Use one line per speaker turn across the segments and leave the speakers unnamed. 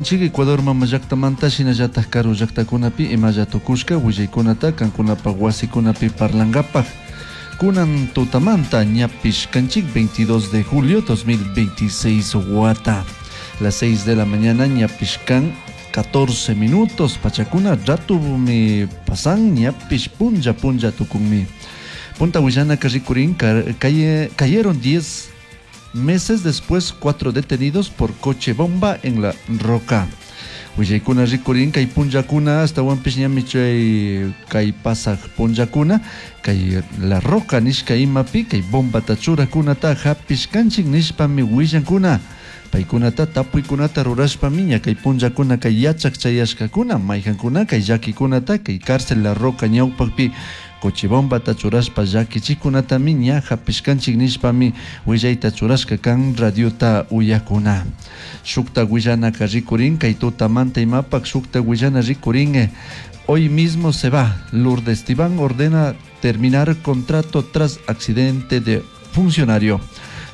Chik Ecuador mama llaktamanta shinallatak karu llaktakunapi imalla tukushka willaykunata kankunapak wasikunapi parlankapak. Kunan tutamanta ñapish kanchik 22 de julio 2026 wata. Las 6 de la mañana ñapish kan 14 minutos pachakuna ratumi pasan ñapish punlla punlla tukunmi. Punta willanaka rikurin cayeron 10 meses después, 4 detenidos por coche bomba en La Roca. Willaykuna rikurin kay punllakuna astawanpish ñami chay kay pasaj punllakuna kay La Roca nishka imapi kay bombata churakunata hapishkanchik nishpami willankuna. Paykunata tapuykunata rurashpami ña kay punllakuna kay yachak chayashkakuna maykankuna kay llakikunata kay cárcel La Roca ñawpakpi coche bombata churashpa llakichikunatami ña hapishkanchik nishpami willayta churashka kan radiota uyakuna. Shukta willanaka rikurin kay tutamanta imapak shukta willana rikurin hoy mismo se va. Lourdes Tibán ordena terminar contrato tras accidente de funcionario.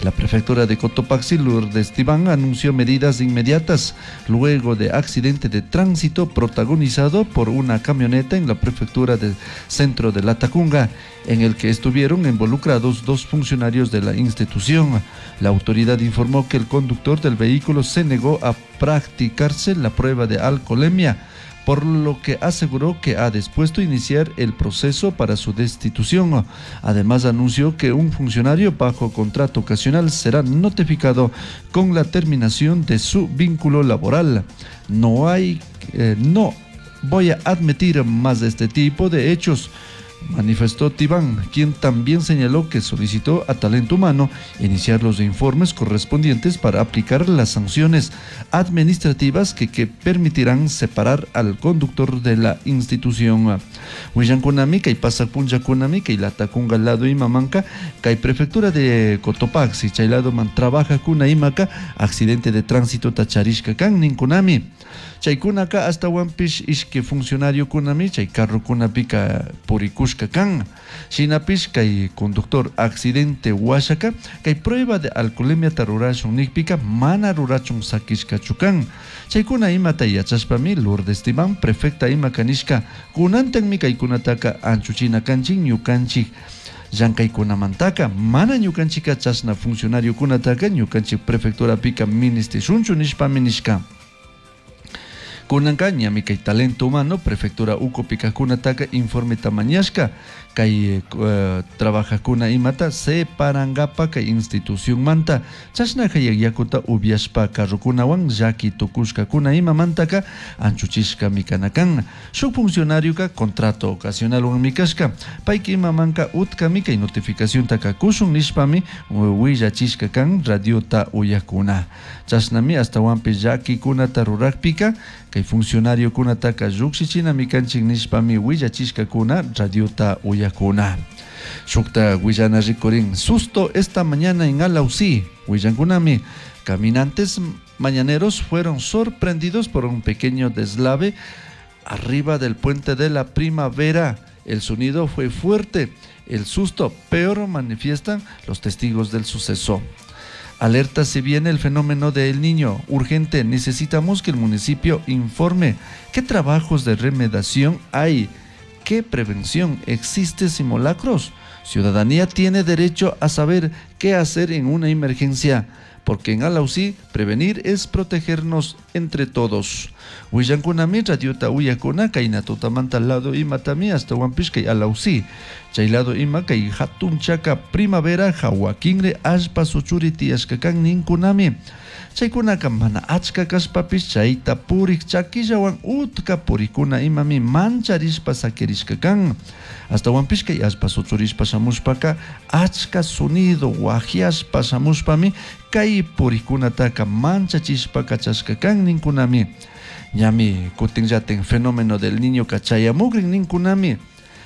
La prefectura de Cotopaxi, Lourdes Tibán, anunció medidas inmediatas luego de accidente de tránsito protagonizado por una camioneta en la prefectura del centro de Latacunga, en el que estuvieron involucrados 2 funcionarios de la institución. La autoridad informó que el conductor del vehículo se negó a practicarse la prueba de alcoholemia, por lo que aseguró que ha dispuesto a iniciar el proceso para su destitución. Además, anunció que un funcionario bajo contrato ocasional será notificado con la terminación de su vínculo laboral. No voy a admitir más de este tipo de hechos, manifestó Tibán, quien también señaló que solicitó a Talento Humano iniciar los informes correspondientes para aplicar las sanciones administrativas que permitirán separar al conductor de la institución. Willankunami, kay pasapunllakunami, kay Latacunga lado imamanka, kay prefectura de Cotopaxi, chay lado man trabaja kuna imaka, accidente de tránsito tacharishka kan ninkunami. Chaykunaka hasta wanpish ishki funcionario kunami, chay carro kunapika purikushka kan. Shinapish kay conductor accidente washaka, kay prueba de alcoholemia tarurashun nikpika mana rurachun sakishkachu kan. Chaykuna imata yachashpami Lourdes Tibán prefecta ima kanishka kunantanmi kaykunataka anchuchina kanchik ñukanchik llankaykunamantaka mana ñukanchika chashna funcionariokunataka ñukanchik prefecturapika ministishunchu nishpami nishka. Kunanka ñami kay talento humano prefectura ukupika kunataka informe tamañashka kay trabajakuna imata separangapa kay institución manta chashna hayak yakuta upiashpa carrokunawan llaki tukushkakuna imamantaka anchuchishka mikanakan shuk funcionarioka contrato ocasionalwan mikashka payka imamanka utkami kay notificaciontaka kushun nishpami willachishka kan radiota uyakuna chashnami astawanpish llakikunata rurakpika kay funcionariokunataka llukshichina mikanchik nishpami willachishkakuna radiota uyakuna. Shukta willana rikurin susto esta mañana en Alausí. Willankunami, caminantes mañaneros fueron sorprendidos por un pequeño deslave arriba del puente de la Primavera. El sonido fue fuerte, el susto peor manifiestan los testigos del suceso. Alerta si viene el fenómeno del niño. Urgente, necesitamos que el municipio informe qué trabajos de remediación hay, qué prevención existe simulacros. Ciudadanía tiene derecho a saber qué hacer en una emergencia, porque en Alausí prevenir es protegernos entre todos. Willankunami radiota uyakuna kayna tutamanta lado imatami hasta Huampishkay Alausí. Chay lado ima kay hatun chaka primavera jawakinre allpa suchuri tiyashkakan ninkunami. Chaykunaka mana achka kashpapish chayta purik chakillawan utka purikuna imami mancharishpa sakirishka kan. Hasta Huampishkay allpa suchurishpa shamushpaka achka sonido wajiashpa shamushpami kay purikunataka manchachishpa kachashka kan ninkunami. Ñami kutinllatin fenómeno del niño kachayamukrin ninkunami.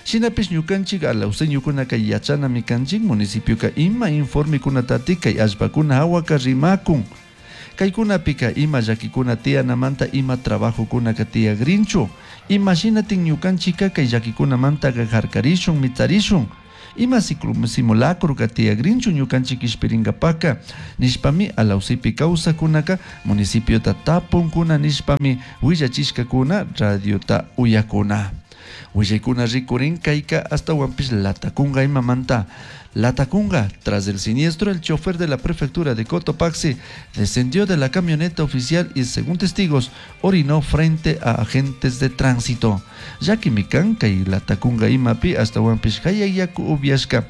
Shinapish ñukanchik alauseñukunaka yachanami kanchik municipioka ima informekunatati kay allpakuna hawaka rimakun. Kaykunapika ima llakikuna tiyanamanta ima trabajokunaka tiyagrinchu. Imaginatin ñukanchika kay llakikunamantaka harkarishun mitarishun. Ima simulacroka tiyagrinchu ñukanchik kishpiringapaka nishpami Alausipi kawsakunaka municipiota tapunkuna nishpami willachishkakuna radiota uyakuna. Willaykuna rikurin kayka astawanpish Latacunga imamanta. Latacunga, tras el siniestro, el chofer de la prefectura de Cotopaxi descendió de la camioneta oficial y, según testigos, orinó frente a agentes de tránsito. Llakimi kan kay Latacunga imapi astawanpish yaku upiashka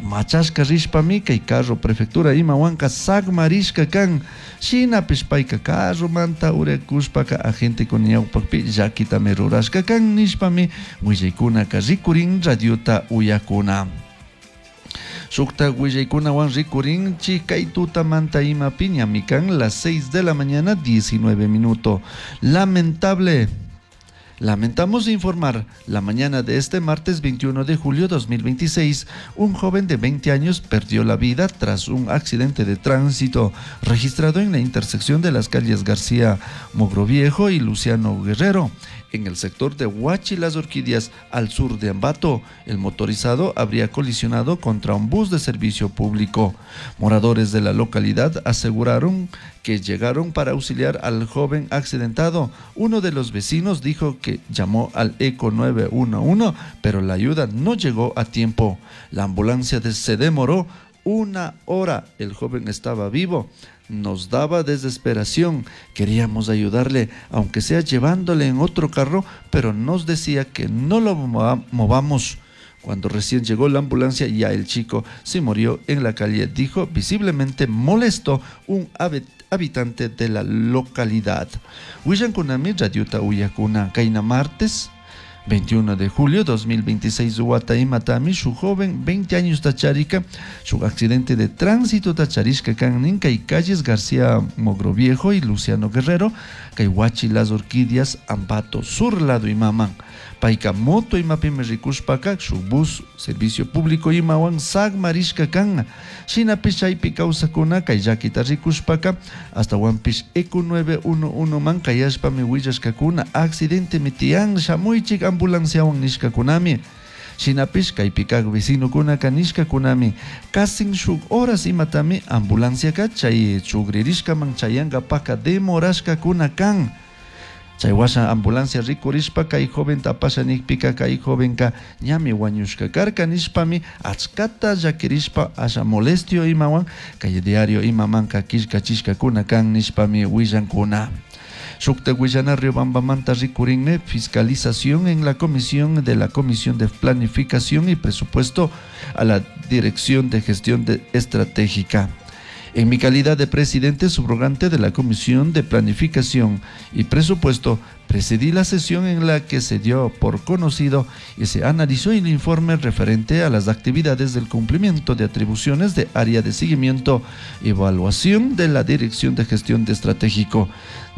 machashka rishpami kay carro prefectura imawanka sagmarishka kan. Shinapish payka carromanta urakushpaka agentekuna ñawpakpi llakitami rurashka kan nishpami willaykunaka rikurin radiota uyakuna. Shukta willaykunawan rikurinchik kay tutamanta imapi ñami kan las 6 de la mañana 19 minuto. Lamentable. Lamentamos informar, la mañana de este martes 21 de julio 2026, un joven de 20 años perdió la vida tras un accidente de tránsito registrado en la intersección de las calles García Mogroviejo y Luciano Guerrero, en el sector de Huachi Las Orquídeas, al sur de Ambato. El motorizado habría colisionado contra un bus de servicio público. Moradores de la localidad aseguraron que llegaron para auxiliar al joven accidentado. Uno de los vecinos dijo que llamó al ECO 911, pero la ayuda no llegó a tiempo. La ambulancia se demoró una hora. El joven estaba vivo. Nos daba desesperación. Queríamos ayudarle, aunque sea llevándole en otro carro, pero nos decía que no lo movamos. Cuando recién llegó la ambulancia, ya el chico se murió en la calle, dijo visiblemente molesto un habitante de la localidad. Willankunami radiota uyakuna kayna martes 21 de julio 2026 wata imatami shuk joven 20 años tacharika shuk accidente de tránsito tacharishka kan nin kay calles García Mogroviejo y Luciano Guerrero kay Huachi Las Orquídeas Ambato Sur lado imaman. Payka moto imapimi rikushpaka shuk bus servicio público imawan sagmarishka kan. Shinapish chaypi kawsakuna kay llakita rikushpaka astawanpish ECO 911 man kayashpami willashkakuna accidentemi tiyan shamuychik ambulanciawan nishkakunami. Shinapish kaypi kak vecinokuna nishkakunami kasin shuk horas imatami ambulanciaka chay chugririshkaman chayankapaka demorashkakuna kan. Chay washa ambulancia rikurishpa kay joven tapasha nikpika kay jovenka ñami wañushka karka nishpami achkata llakirishpa asha molestio imawan kay diario imamanka killkachishkakuna kan nishpami willankuna. Shukta willana Riobambamanta rikurinme fiscalización en la comisión de la Comisión de Planificación y Presupuesto a la Dirección de Gestión Estratégica. En mi calidad de presidente subrogante de la Comisión de Planificación y Presupuesto, presidí la sesión en la que se dio por conocido y se analizó el informe referente a las actividades del cumplimiento de atribuciones de área de seguimiento y evaluación de la Dirección de Gestión de Estratégico.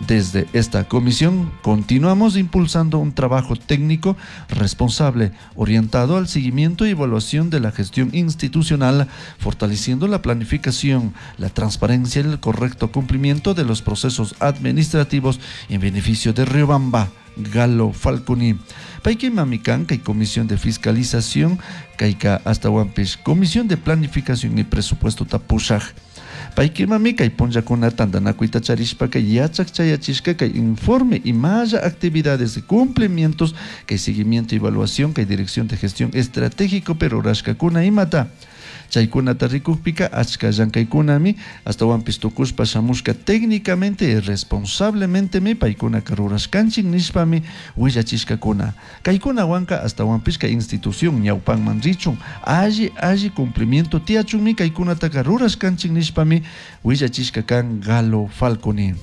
Desde esta comisión continuamos impulsando un trabajo técnico responsable, orientado al seguimiento y evaluación de la gestión institucional, fortaleciendo la planificación, la transparencia y el correcto cumplimiento de los procesos administrativos en beneficio de Riobamba. Galo Falconi. Payki mamikan kay Comisión de Fiscalización, kayka astawanpish Comisión de Planificación y Presupuesto tapushaj. Payki mami kay punllakuna tantanakuyta charishpa kay yachak chayachishka kay informe imalla actividades de cumplimientos, kay seguimiento y evaluación, kay dirección de gestión estratégico pero rurashkakuna imata. Chaykunata rikukpika achka llankaykunami astawanpish tukushpa shamushka técnicamente y responsablementemi paykunaka rurashkanchik nishpami willachishkakuna. Kaykunawanka astawanpish kay institución ñawpanman richun alli alli cumplimiento tiyachunmi kaykunataka rurashkanchik nishpami willachishka kan Galo Falconi.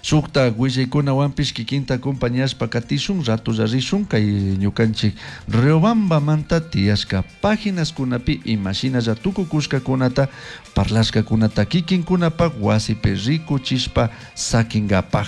Shukta willaykunawanpish kikinta acompañashpa katishun ratulla rishun kay ñukanchik Riobambamanta tiyashka páginaskunapi imashinalla tukukushkakunata parlashkakunata kikinkunapak wasipi rikuchishpa sakinkapaj.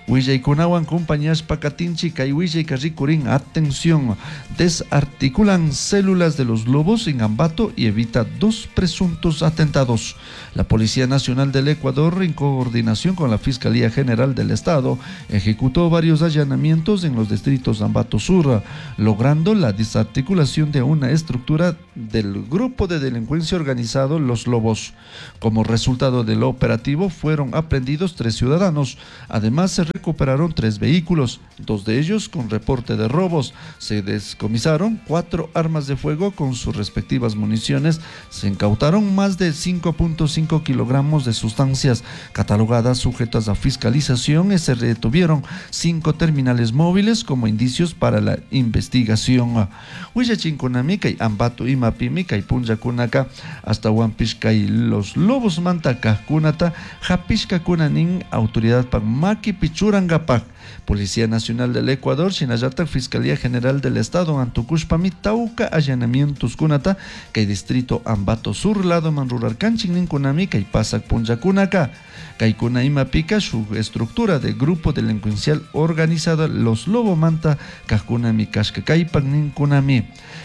Willaykunawan compañashpa katinchik. Kay willayka rikurin, atención, desarticulan células de los Lobos en Ambato y evita 2 presuntos atentados. La Policía Nacional del Ecuador, en coordinación con la Fiscalía General del Estado, ejecutó varios allanamientos en los distritos de Ambato Sur, logrando la desarticulación de una estructura del grupo de delincuencia organizado Los Lobos. Como resultado del operativo, fueron aprehendidos 3 ciudadanos. Además, se recuperaron 3 vehículos, 2 de ellos con reporte de robos. Se descomisaron 4 armas de fuego con sus respectivas municiones. Se incautaron más de 5.5 kilogramos de sustancias catalogadas sujetas a fiscalización y se retuvieron 5 terminales móviles como indicios para la investigación. Huillachinkunami kay Ambato imapimi kay punllakunaka hasta Huampishkay Los Lobos manta kajkunata hapishkakuna nin autoridad pak makipi churankapak. Policía Nacional del Ecuador, shinallatak Fiscalía General del Estado antukushpami tawka allanamientos kunata kay distrito Ambato Sur lado man rurarkanchik ninkunami kay pasak punllakunaka. Kaykuna imapika shuk estructura de grupo delincuencial organizado Los Lobo manta kajkunami kashka kaypak ninkunami.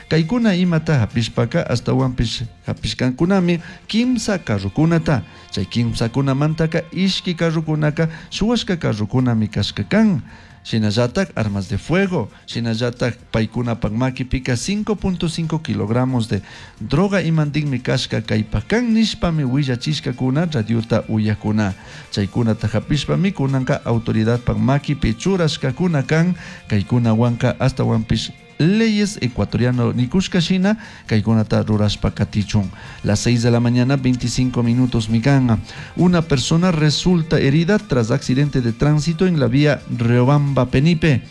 Kaykuna imata hapishpaka hasta huampish hapishkankunami kimsa carrukunata. Chay kimsa kunamantaka ishki carrukunaka shuwashka carrukunami kashka kan. Shinallatak armas de fuego, shinallatak paykunapak makipika 5.5 kilogramos de droga imandinmi kashka kaypakan nishpami willachishkakuna radiota uyakuna. Chaykunata hapishpami kunanka autoridadpak makipi churashkakuna kan kaykunawanka hasta wampish leyes ecuatoriano nikushka shina kaykunata rurashpa katichun. Las 6 de la mañana, 25 minutos mikan. Una persona resulta herida tras accidente de tránsito en la vía Riobamba-Penipe.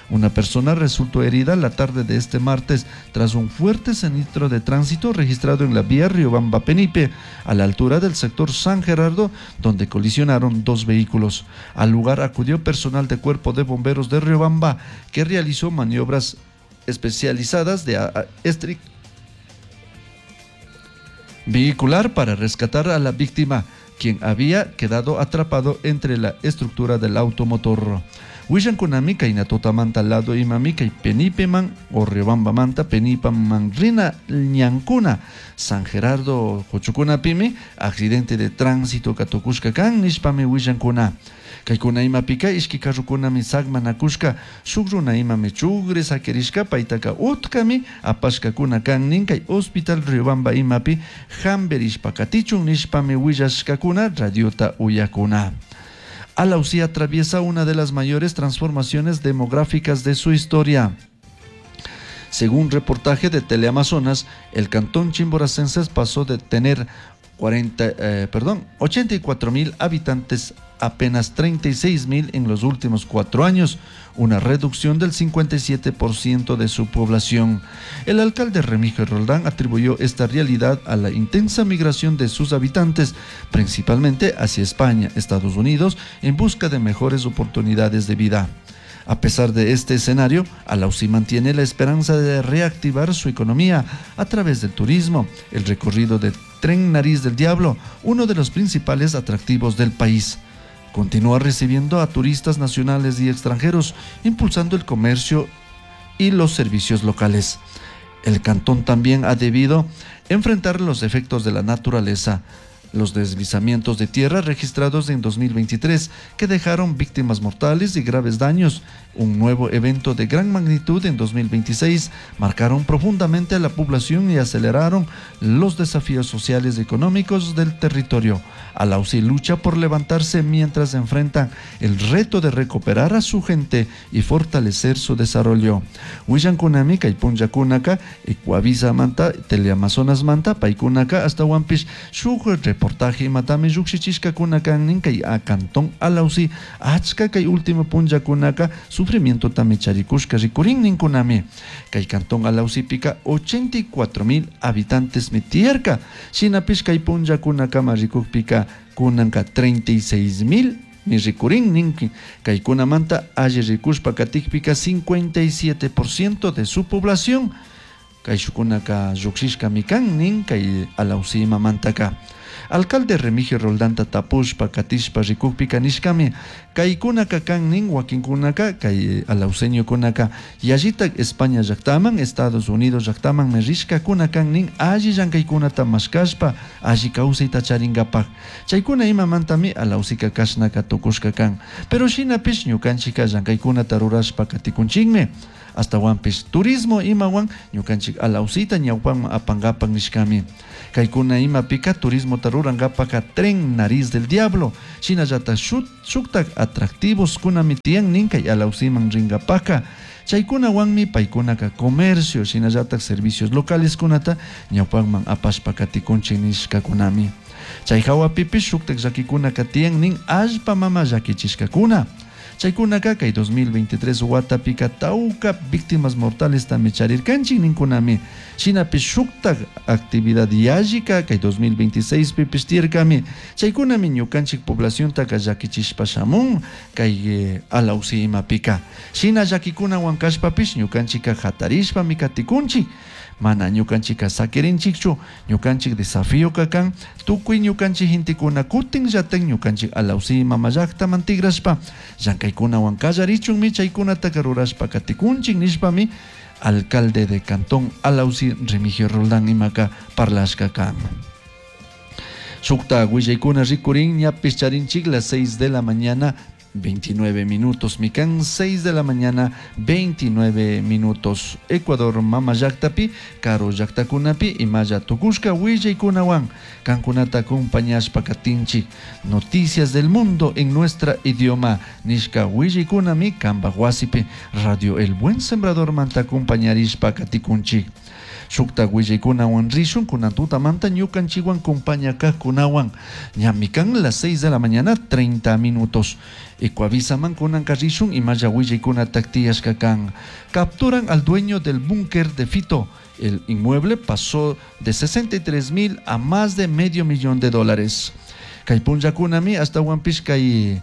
Una persona resultó herida la tarde de este martes tras un fuerte siniestro de tránsito registrado en la vía Riobamba-Penipe, a la altura del sector San Gerardo, donde colisionaron 2 vehículos. Al lugar acudió personal de cuerpo de bomberos de Riobamba, que realizó maniobras especializadas de vehicular para rescatar a la víctima, quien había quedado atrapado entre la estructura del automotor. Wishankunami kay tutamanta lado imami kay Penipeman o Riobamba manta Penipaman rina ñankuna San Gerardo Jochukunapimi accidente de tránsito katukushka kan nishpami wishankuna. Kaykuna imapika ishki karrukunami sagmanakushka shuk runa imami chugre sakirishka paytaka utkami apashkakuna kan nin kay Hospital Riobamba imapi hamberishpa katichun nishpami willashkakuna radiota uyakuna. Alausí atraviesa una de las mayores transformaciones demográficas de su historia. Según reportaje de Teleamazonas, el cantón chimboracenses pasó de tener 84.000 habitantes a apenas 36.000 en los últimos 4 años, una reducción del 57% de su población. El alcalde Remigio Roldán atribuyó esta realidad a la intensa migración de sus habitantes, principalmente hacia España, Estados Unidos, en busca de mejores oportunidades de vida. A pesar de este escenario, Alausí mantiene la esperanza de reactivar su economía a través del turismo, el recorrido del Tren Nariz del Diablo, uno de los principales atractivos del país. Continúa recibiendo a turistas nacionales y extranjeros, impulsando el comercio y los servicios locales. El cantón también ha debido enfrentar los efectos de la naturaleza. Los deslizamientos de tierra registrados en 2023 que dejaron víctimas mortales y graves daños, un nuevo evento de gran magnitud en 2026, marcaron profundamente a la población y aceleraron los desafíos sociales y económicos del territorio. Alausí lucha por levantarse mientras enfrenta el reto de recuperar a su gente y fortalecer su desarrollo. Willankunami, Kaypunyakunaka, Ecuavisa Manta, Teleamazonas Manta, Paykunaka, hasta Huampish, shuk reportaje matami llukshichishkakuna kan nin kay a cantón Alausí, achka kay último punllakunaka sufrimiento tami charikushka rikurin ninkunami. Kay cantón Alausípica 84.000 habitantes mitierka, shinapish kay punllakunaka marikukpika kunanka 36.000 mi rikurin ninki. Kaykunamanta alli rikushpa katikpika 57% de su población kayshukunaka llukshishkami kan nin kay Alausí mamantaka. Alcalde Remigio Roldanta tapushpa katishpa rikukpika nishkami kaykunaka kan nin wakinkunaka kay alauseñokunaka yallitak España llaktaman, Estados Unidos llaktamanmi rishkakuna kan nin alli llankaykunata mashkashpa alli kawsayta charinkapak. Chaykuna imamantami Alausika kashnaka tukushka kan. Pero shinapish ñukanchika llankaykunata rurashpa katikunchikmi. Astawanpish turismo imawan ñukanchik Alausita ñawpanman apankapak nishkami. Kaykuna imapika turismota rurankapaka tren Nariz del Diablo, shinallatak shuktak atractivos kunami tiyan nin kay Alausiman rinkapaka. Chaykunawanmi paykunaka comercio shinallatak servicios locales kunata ñawpanman apashpa katikunchik nishkakunami. Chay hawapipish shuktak llakikunaka tiyan nin allpa mama llakichishkakuna. Chaykunaka kay 2023 watapika tawka víctimas mortales tami charirkanchik ninkunami. Shinapish shuktak actividad yallika kay 2026 pipish tiyarkami. Chaykunami ñukanchik poblaciontaka llakichishpa shamun kay Alausi imapika. Shina llakikunawan kashpapish ñukanchika hatarishpami katikunchik. Mana ñukanchika sakirinchikchu, ñukanchik desafío kan tukuy ñukanchik gentekuna kutin llatak ñukanchik Alausi mama llaktaman tigrashpa llankaykunawan kallarichunmi chaykunataka rurashpa katikunchik nishpami alcalde de Cantón Alausi Remigio Roldán imaka parlashka kan. Shukta willaykuna rikurin ñapish charinchik las 6 de la mañana 29 minutos, mikan 6 de la mañana 29 minutos. Ecuador mama llaktapi, karu llaktakunapi, imalla tukushka willaykunawan kankunata acompañashpa katinchik. Noticias del mundo en nuestra idioma nishka willaykunami kanpak wasipi Radio El Buen Sembrador manta acompañarishpa katikunchik. Shukta willaykunawan rishun kunan tutamanta ñukanchikwan compañakajkunawan ñamikan las 6 de la mañana 30 minutos. Ecuavisaman kunanka rishun imalla willaykunatak tiyashka kan. Capturan al dueño del búnker de Fito. El inmueble pasó de 63 mil a más de medio millón de dólares. Kay punllakunami ashtawanpish kay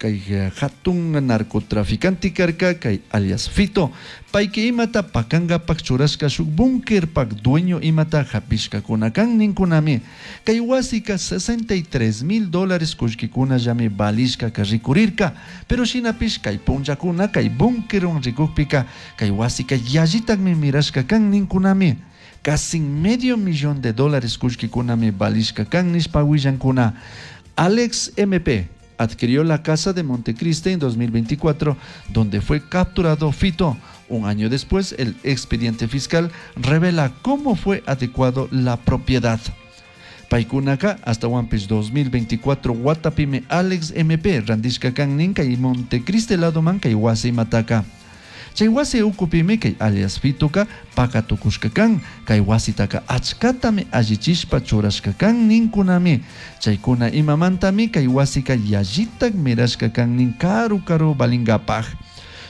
kay hatun narcotraficante karka kay alias Fito. Payki imata pakangapak churashka shuk búnkerpak dueño imata hapishkakuna kan ninkunami. Kay wasika 63 mil dólares kullkikunallami valishkaka rikurirka. Pero shinapish kay punllakuna kay búnkerwan rikukpika kay wasika yallitakmi mirashka kan ninkunami. Casi medio millón de dólares kullkikunami valishka kan nishpa willankuna. Alex MP adquirió la casa de Montecristi en 2024, donde fue capturado Fito. Un año después, el expediente fiscal revela cómo fue adecuado la propiedad. Paykunaka ashtawanpish 2024 watapimi Alex MP randishka kan nin kay Montecristi ladoman kay wasi mataka. Chay wasi ukupimi kay alias Fitoka pakatukushka kan, kay wasitaka achkatami allichishpa churashka kan ninkunami. Chaykuna imamantami kay wasika yallitak mirashka kan nin karu karu valingapaj.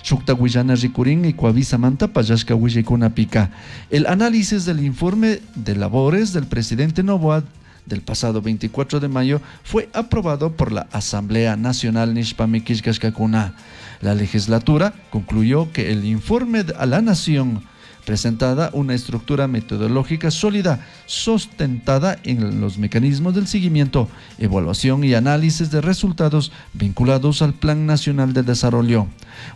Shukta willana rikurin Ecuavisamanta pallashka willaykunapika. El análisis del informe de labores del presidente Noboa del pasado 24 de mayo fue aprobado por la Asamblea Nacional nishpami killkashkakuna. La legislatura concluyó que el informe a la Nación presentada una estructura metodológica sólida, sustentada en los mecanismos del seguimiento, evaluación y análisis de resultados vinculados al Plan Nacional de Desarrollo.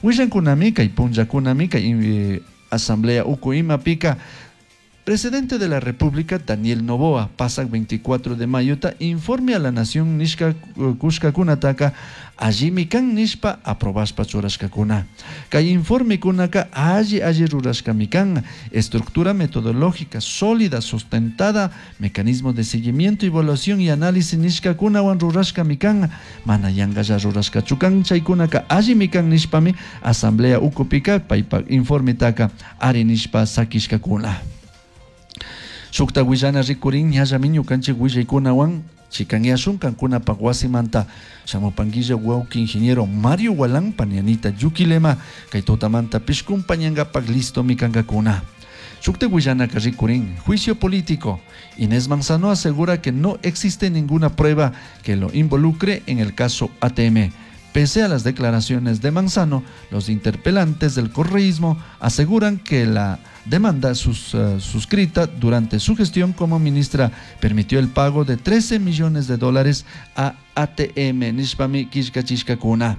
Willankunami kay punllakunami kay Asamblea uku imapika. Presidente de la República, Daniel Noboa, pasa 24 de mayo, ta informe a la nación nishka kushkakunataka, allimi kan nishpa aprobashpa churashkakuna. Kay informe kunaka alli alli rurashkami kan, estructura metodológica sólida, sustentada, mecanismo de seguimiento, evaluación y análisis nishkakunawan rurashkami kan, mana yankalla rurashkachu kan, chaykunaka allimi kan nishpami asamblea ukupika paypak informetaka ari nishpa sakishkakuna. Shukta willana rikurin ñallami ñukanchik willaykunawan chikanyashun kankunapak wasimanta shamupanguilla wawki ingeniero Mario Gualán panianita Yuquilema kay tutamanta pishkumpañankapak listomi kankakuna. Shukta willanaka rikurin juicio político. Inés Manzano asegura que no existe ninguna prueba que lo involucre en el caso ATM. Pese a las declaraciones de Manzano, los interpelantes del correísmo aseguran que la demanda suscrita durante su gestión como ministra permitió el pago de 13 millones de dólares a ATM nishpami killkachishkakuna.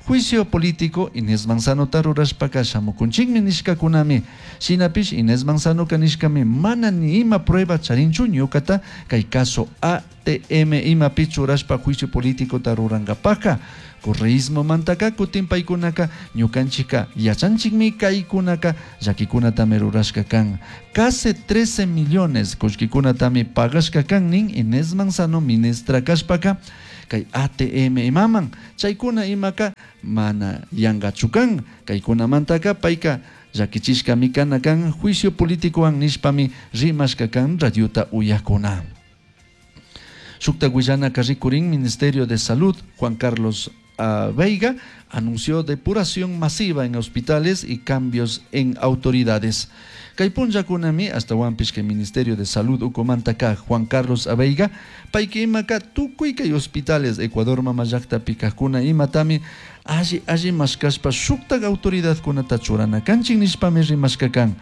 Juicio político Inés Manzano rurashpaka shamukunchikmi nishkakunami. Shinapish Inés Manzano nishkami mana ni ima prueba charinchu ñukata kay caso ATM imapi churashpa juicio político rurankapaka. Correísmo mantaka kutin paykunaka ñukanchika yachanchikmi kaykunaka llakikunatami rurashka kan. Casi 13 millones kullkikunatami pagashka kan nin Inés Manzano ministra kashpaka kay ATM imaman chaykuna imaka mana yankachu kan kaykunamantaka payka llakichishkami kana kan juicio politicowan nishpami rimashka kan radiota uyakuna. Shukta willanaka rikurin Ministerio de Salud Juan Carlos Veiga anunció depuración masiva en hospitales y cambios en autoridades. Kay punllakunami ashtawanpish kay Ministerio de Salud ukumantaka Juan Carlos Aveiga payka imaka tukuy kay hospitales Ecuador mama llaktapi kajkuna imatami alli alli mashkashpa shuktak autoridadkunata churana kanchik nishpami rimashka kan.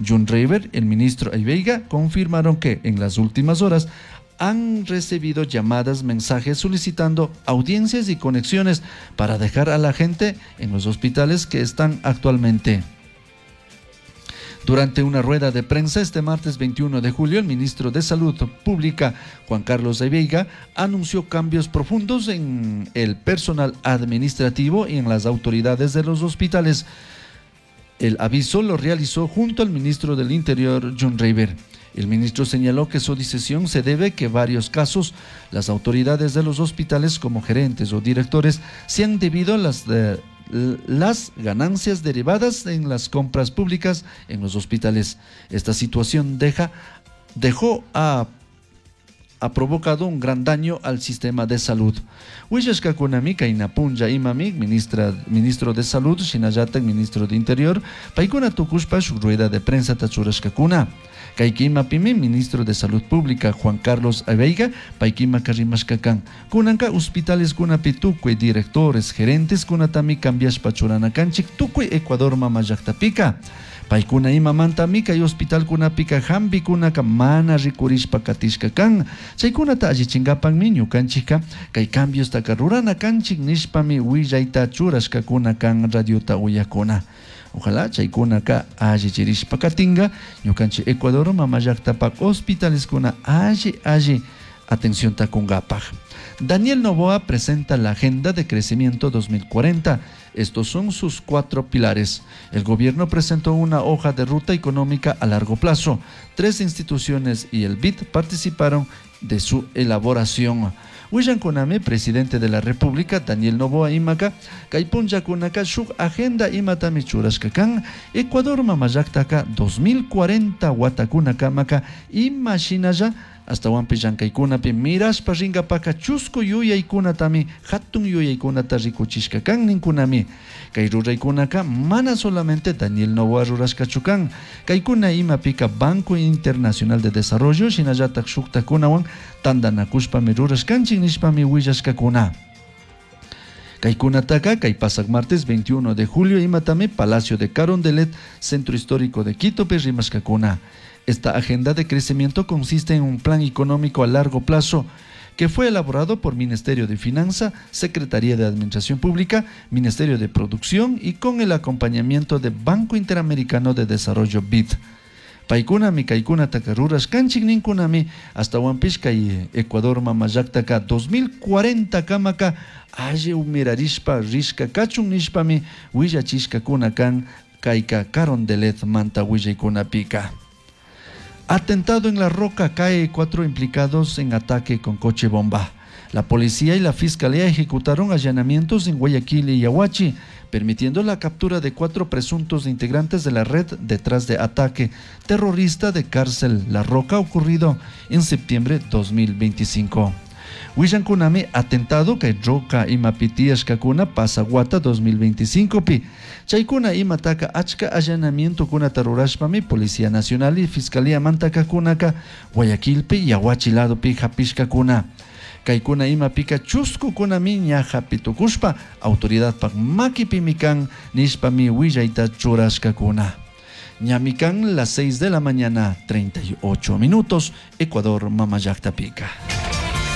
John Rayber, el ministro Aveiga, confirmaron que en las últimas horas han recibido llamadas, mensajes solicitando audiencias y conexiones para dejar a la gente en los hospitales que están actualmente. Durante una rueda de prensa este martes 21 de julio, el ministro de Salud Pública, Juan Carlos Veiga, anunció cambios profundos en el personal administrativo y en las autoridades de los hospitales. El aviso lo realizó junto al ministro del Interior, John Rayber. El ministro señaló que su decisión se debe que varios casos las autoridades de los hospitales como gerentes o directores se han debido a las ganancias derivadas en las compras públicas en los hospitales. Esta situación ha provocado un gran daño al sistema de salud. Willashkakunami kayna punlla imami ministro de Salud, shinallatak ministro de Interior, paykuna tukushpa shuk rueda de prensa churashkakuna. Kay imapimi ministro de Salud Pública Juan Carlos Aveiga, paykimaka rimashka kan. Kunanka hospitales kunapi tukuy directores, gerentes kunatami cambiashpa churana kanchik tukuy Ecuador mama llaktapika. Paykuna imamantami kay hospital kunapika hampikunaka mana rikurishpa katishka kan. Chaykunata allichinkapakmi ñukanchikka kay cambiostaka rurana kanchik nishpami willayta churashkakuna kan radiota uyakuna. Ojalá chaykunaka allichirishpa katinka ñukanchik Ecuador mama llaktapak hospitaleskuna alli alli atencionta kunkapak. Daniel Noboa presenta la Agenda de Crecimiento 2040. Estos son sus 4 pilares. El gobierno presentó una hoja de ruta económica a largo plazo. 3 instituciones y el BID participaron de su elaboración. Willankunami, presidente de la República, Daniel Noboa imaka, kay punllakunaka shuk agenda imatami churashka kan, Ecuador mama llaktaka 2040 watakunakamaka ima shinalla ashtawanpish llankaykunapi mirashpa rinkapaka chusku yuyaykunatami hatun yuyaykunata rikuchishka kan ninkunami. Kay ruraykunaka mana solamente Daniel Noboa rurashkachu kan, kaykuna imapika Banco Internacional de Desarrollo shinallatak shuktakunawan tantanakushpami rurashkanchik nishpami willashkakuna. Kaykunataka kay pasak martes 21 de julio imatami Palacio de Carondelet, Centro Histórico de Quito rimashkakuna. Esta agenda de crecimiento consiste en un plan económico a largo plazo que fue elaborado por Ministerio de Finanza, Secretaría de Administración Pública, Ministerio de Producción y con el acompañamiento de Banco Interamericano de Desarrollo BID. Paykunami kaykunataka rurashkanchik ninkunami ashtawanpish kay Ecuador mama llaktaka 2040 kamaka alli umirarishpa rishka kachun nishpami willachishkakuna kan kayka Carondelet manta willaykunapika. Atentado en La Roca, cae 4 implicados en ataque con coche bomba. La policía y la fiscalía ejecutaron allanamientos en Guayaquil y Yaguachi, permitiendo la captura de 4 presuntos integrantes de la red detrás de ataque terrorista de cárcel La Roca ocurrido en septiembre de 2025. Willankunami atentado kay Roca imapitiashkakuna pasaguata 2025 pi. Chaykuna imataka achka allanamientokunata rurashpami Policía Nacional y Fiscalía mantakakunaka Guayaquilpi Yaguachi ladopi hapishkakuna. Caicuna imapica chuscucunami ña japi tucushpa autoridadpaj maquipimi can nishpami huillaita churashcacuna. Ñami can las 6 de la mañana 38 minutos, Ecuador mama llajtapica.